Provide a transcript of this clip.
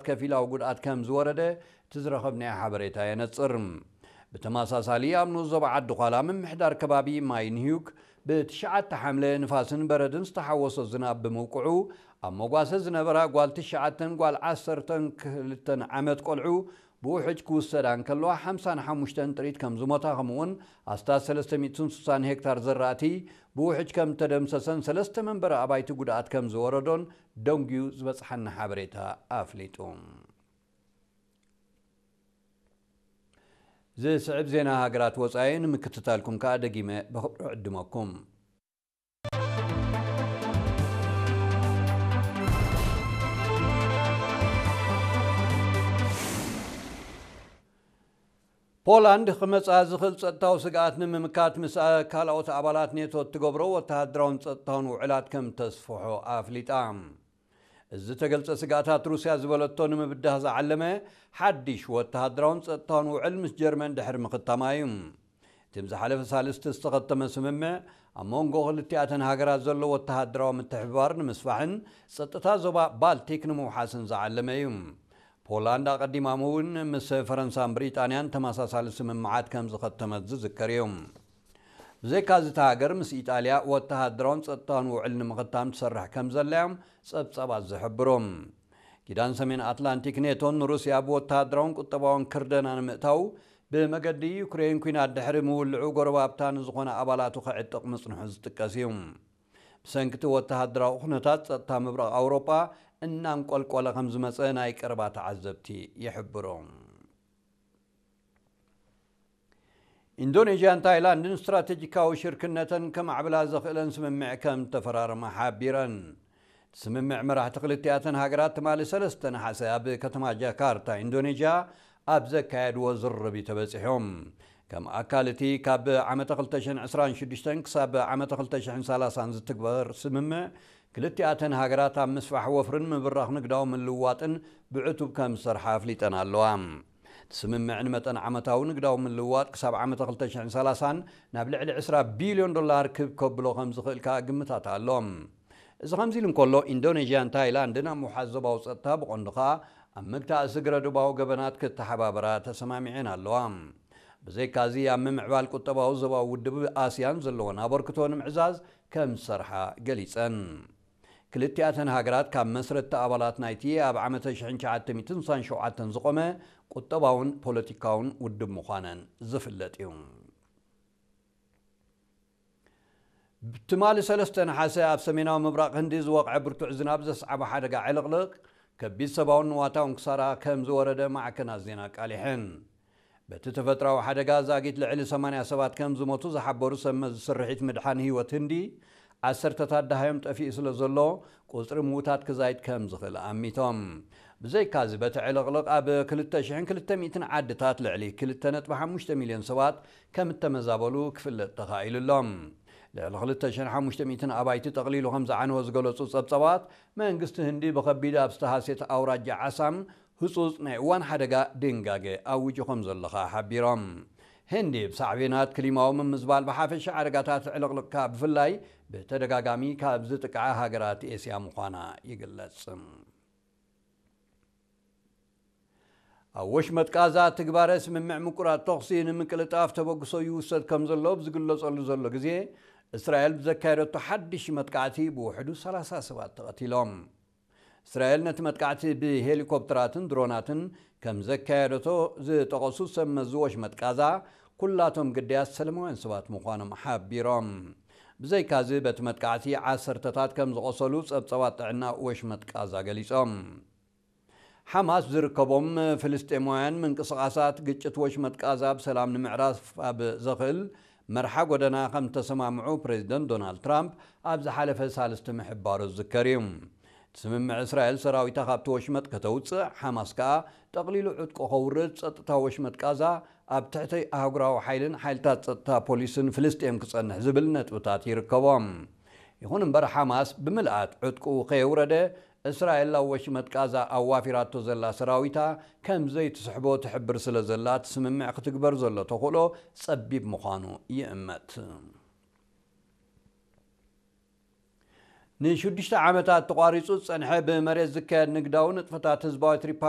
ከፊላዊ ጉድኣት ከም ዝወረደ እቲ ዝረኸብናዮ ሓበሬታ የነጽር። ብተመሳሳሊ ኣብ ንኡስ ዞባ ዓዲ ዃላ ምምሕዳር ከባቢ ማይ ንህዩክ ብትሽዓተ ሓምለ ንፋስን በረድን ዝተሓወሶ ዝናብ ብምውቅዑ ኣብ መጓሰ ዝነበራ ጓል ትሽዓተን ጓል ዓሰርተን ክልተን ዓመት ቆልዑ ብውሕጅ ክውሰዳ እንከለዋ ሓምሳን ሓሙሽተን ጥሪት ከም ዝሞታ ከምኡውን ኣስታት ሰለስተ ሚእትን ስሳን ሄክታር ዘራእቲ ብውሕጅ ከም ተደምሰሰን ሰለስተ መንበሪ ኣባይቲ ጉድኣት ከም ዝወረዶን ደንጉዩ ዝበጽሓና ሓበሬታ ኣፍሊጡ። ዝስዕብ ዜና ሃገራት ወጻኢ ንምክትታልኩም ከኣ ደጊመ ብኽብሪ ዕድመኩም። ፖላንድ ክመጽኣ ዝኽእል ጸጥታዊ ስግኣት ንምምካት ምስ ካልኦት ኣባላት ኔቶ እትገብሮ ወተሃደራውን ጸጥታውን ውዕላት ከም ተስፍሖ ኣፍሊጣ። እዚ ዝተገልጸ ስግኣታት ሩስያ ዝበለቶ ንምብዳህ ዝዓለመ ሓድሽ ወተሃደራውን ጸጥታውን ውዕል ምስ ጀርመን ድሕሪ ምኽታማ እዩ። እቲ ዝሓለፈ ሳልስቲ ዝተኸተመ ስምምዕ ኣብ መንጎ ክልቲኣተን ሃገራት ዘሎ ወተሃደራዊ ምትሕብባር ንምስፋሕን ጸጥታ ዞባ ባልቲክ ንምውሓስን ዝዓለመ እዩ። ፖላንድ ኣቐዲማ እውን ምስ ፈረንሳን ብሪጣንያን ተመሳሳሊ ስምምዓት ከም ዝኸተመት ዝዝከር እዩ። ብዘይካዚ እታ ሃገር ምስ ኢጣልያ ወተሃደራውን ጸጥታውን ውዕል ንምኽታም ትሰርሕ ከም ዘላ እዮም ጸብጻባት ዝሕብሩ። ኪዳን ሰሜን ኣትላንቲክ ኔቶን ንሩስያ ብወተሃደራውን ቁጠባውን ክርደና ንምእታው ብመገዲ ዩክሬን ኲናት ድሕሪ ምውልዑ ጎረባብታ ንዝኾነ ኣባላቱ ከዕጥቕ ምጽንሑ ዝጥቀስ እዩ። ብሰንኪ እቲ ወተሃደራዊ ኩነታት ጸጥታ ምብራቕ ኣውሮጳ እናንቆልቆለ ከም ዝመጸ ናይ ቀረባ ተዓዘብቲ ይሕብሩ። ኢንዶኔዥያን ታይላንድን ስትራቴጂካዊ ሽርክነተን ከማዕብላ ዘኽእለን ስምምዕ ከም ተፈራረማ ሓቢረን። እቲ ስምምዕ መራሕቲ ክልቲኣተን ሃገራት ትማሊ ሰለስተ ነሓሰ ኣብ ከተማ ጃካርታ ኢንዶኔዥያ ኣብ ዘካየድዎ ዝርርብ እዩ ተበጺሖም። ከም ኣካል እቲ ካብ ዓመተ ክልተ ሽሕን ዕስራን ሽዱሽተን ክሳብ ዓመተ ክልተ ሽሕን ሰላሳን ዝትግበር ስምምዕ ክልቲኣተን ሃገራት ኣብ ምስፋሕ ወፍርን ምብራኽ ንግዳዊ ምልውዋጥን ብዕቱብ ከም ዝሰርሓ ኣፍሊጠን ኣለዋ። እቲ ስምምዕ ንመጠን ዓመታዊ ንግዳዊ ምልውዋጥ ክሳብ ዓመተ ክልተ ሽሕን ሰላሳን ናብ ልዕሊ ዕስራ ቢልዮን ዶላር ክብ ከብሎ ከም ዝኽእል ከኣ ግምታት ኣሎ። እዚ ከምዚ ኢሉ እንከሎ ኢንዶኔዥያን ታይላንድን ኣብ ምውሓስ ዞባዊ ጸጥታ ብቐንዱ ከኣ ኣብ ምግታእ ስግረ ዶባዊ ገበናት ክተሓባበራ ተሰማሚዐን ኣለዋ። ብዘይካዚ ኣብ ምምዕባል ቁጠባዊ ዞባዊ ውድብ ኣስያን ዘለወን ኣበርክቶ ንምዕዛዝ ከም ዝሰርሓ ገሊጸን። ክልቲኣተን ሃገራት ካብ መስረትቲ ኣባላት ናይቲ ኣብ ዓመተ ሽሕን ትሽዓተ ሚእትን ስሳን ሸውዓተን ዝቖመ ቁጠባውን ፖለቲካውን ውድብ ምዃነን ዝፍለጥ እዩ። ትማሊ ሰለስተ ነሓሰ ኣብ ሰሜናዊ ምብራቕ ህንዲ ዝወቕዐ ብርቱዕ ዝናብ ዘስዓቦ ሓደጋ ዕልቕልቕ ከቢድ ሰብኣውን ንዋታውን ክሳራ ከም ዝወረደ ማዕከናት ዜና ኣቃሊሐን። በቲ ተፈጥራዊ ሓደጋ ዛጊት ልዕሊ ሰማንያ ሰባት ከም ዝሞቱ ዝሓበሩ ሰብ መዚ ስርሒት ምድሓን ህይወት ህንዲ፣ ዓሰርተታት ደሃዮም ጠፊኡ ስለ ዘሎ ቁጽሪ ምዉታት ክዛይድ ከም ዝኽእል ኣሚቶም። ብዘይካዚ በቲ ዕልቕልቕ ኣብ ክልተ ሽሕን ክልተ ሚእትን ዓድታት ልዕሊ ክልተ ነጥቢ ሓሙሽተ ሚልዮን ሰባት ከም እተመዛበሉ ክፍለጥ ተኻኢሉ ኣሎ። ልዕሊ ክልተ ሽሕን ሓሙሽተ ሚእትን ኣባይቲ ጠቕሊሉ ከም ዝዓነወ ዝገለጹ ጸብጻባት፣ መንግስቲ ህንዲ ብኸቢድ ኣብ ዝተሃስየት ኣውራጃ ዓሳም ህጹጽ ናይ እዋን ሓደጋ ድንጋገ ኣዊጁ ከም ዘሎ ከኣ ሓቢሮም። ህንዲ ብሳዕቤናት ክሊማዊ ምምዝባል ብሓፈሻ ሓደጋታት ዕልቕልቕ ከኣ ብፍላይ ብተደጋጋሚ ካብ ዝጥቅዓ ሃገራት ኤስያ ምዃና ይግለጽ። ኣብ ወሽመጥ ቃዛ ትግባረ ስምምዕ ምቁራጽ ተኹሲ ንምቅልጣፍ ተበግሶ ይውሰድ ከም ዘሎ ብዝግለጸሉ ዘሎ ግዜ፣ እስራኤል ብዘካየደቶ ሓድሽ መጥቃዕቲ ብውሕዱ ሰላሳ ሰባት ተቐቲሎም። እስራኤል ነቲ መጥቃዕቲ ብሄሊኮፕተራትን ድሮናትን ከም ዘካየደቶ ዝጠቐሱ ሰብ መዚ ወሽመጥ ቃዛ፣ ኩላቶም ግዳያት ሰለማውያን ሰባት ምዃኖም ሓቢሮም። ብዘይካዚ በቲ መጥቃዕቲ ዓሰርተታት ከም ዝቖሰሉ ጸብጻባት ጥዕና ወሽመጥ ቃዛ ገሊጾም። ሓማስ ዝርከቦም ፍልስጤማውያን ምንቅስቓሳት ግጭት ወሽመጥ ቃዛ ብሰላም ንምዕራፍ ኣብ ዘኽእል መርሓ ጎደና ከም ተሰማምዑ ፕሬዚደንት ዶናልድ ትራምፕ ኣብ ዝሓለፈ ሳልስቲ ምሕባሩ ዝዝከር እዩ። እቲ ስምምዕ እስራኤል ሰራዊታ ካብቲ ወሽመጥ ከተውፅእ፣ ሓማስ ከኣ ጠቕሊሉ ዕጥቁ ከውርድ፣ ጸጥታ ወሽመጥ ቃዛ ኣብ ትሕቲ ኣህጉራዊ ሓይልን ሓይልታት ጸጥታ ፖሊስን ፍልስጤም ክጸንሕ ዝብል ነጥብታት ይርከቦም። ይኹን እምበር ሓማስ ብምልኣት ዕጥቁ ከየውረደ እስራኤል ኣብ ወሽመጥ ቃዛ ኣዋፊራቶ ዘላ ሰራዊታ ከም ዘይትስሕቦ ትሕብር ስለ ዘላ እቲ ስምምዕ ክትግበር ዘሎ ተኽእሎ ጸቢብ ምዃኑ ይእመት። ንሽዱሽተ ዓመታት ተቋሪጹ ዝጸንሐ ብመሬት ዝካየድ ንግዳዊ ንጥፈታት ህዝባዊት ሪፓብሊክ